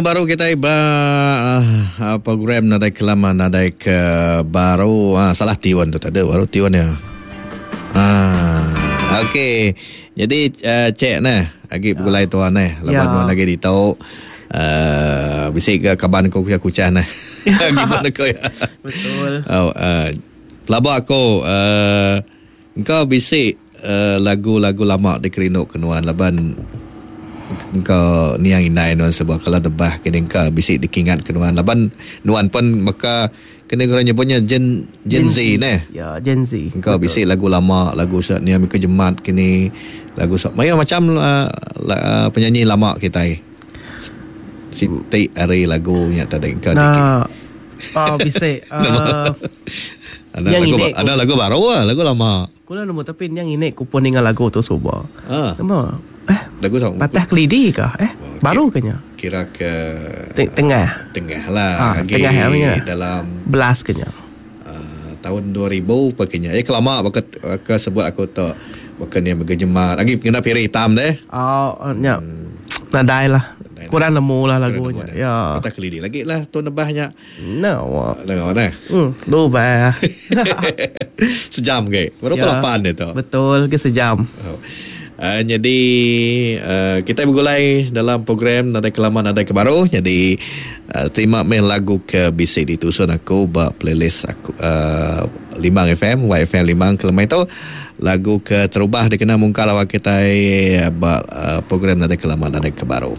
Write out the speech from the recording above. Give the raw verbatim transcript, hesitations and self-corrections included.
Baru kita ba uh, program nadai kelama nadai ke baru. Ah, salah tiun tu tadi, baru tiun ya. Ah, okey. Jadi uh, cek nah, agi begulai tuan nah, lepas Ya. nuan lagi ditau uh, bisi ke kaban ko kucah-kucah nah. Gimana ko ya? Betul. Oh, uh, pelaba aku uh, engkau bisi uh, lagu-lagu lama dikerindu ke nuan laban engkau niang indai nuan sebab kalau debah kini engkau bisi dikingat ke nuan laban nuan pun maka kena orang nyebutnya Gen Gen, Gen Z neh. Ya, Gen Z. Engkau bisi lagu lama, lagu sa niang ke jemat kini lagu sa maya macam uh, la, uh, penyanyi lama kita. Siti hari lagunya tadi engkau dikit. Nah, oh, bisi. Uh, Ada yang lagu, ini ada lagu baru ah, lagu lama. Kula nemu tapi yang ini ku pun dengar lagu tu suba. Ah, Nama? Eh, lagu sama Patah Kelidi kah? Eh, Oh, baru kenya. kira ke Teng- Tengah. tengah lah Ah, lagi tengah ya, punya. dalam Belas kenya. uh, tahun dua ribu pakainya. Eh kelama baka ke sebut aku tu bukan yang bergejemar. Lagi kena piring hitam deh. Oh, nya. Nadai lah. Kurang nemu lah lagunya. Ya. Patah Kelidi lagi lah tu nebahnya. No. Tengok dah. Hmm, lupa. Sejam ke. Baru Ya. ya. lapan itu. Betul ke sejam. Oh. Uh, jadi uh, kita bergulai dalam program Nadai Kelama Nadai Kebaru. Jadi uh, terima main lagu ke B C D tusun aku ba playlist aku uh, Limang F M, Y F M Limang Kelemai itu lagu ke terubah dikena mungkal awak kita ba uh, program Nadai Kelama Nadai Kebaru.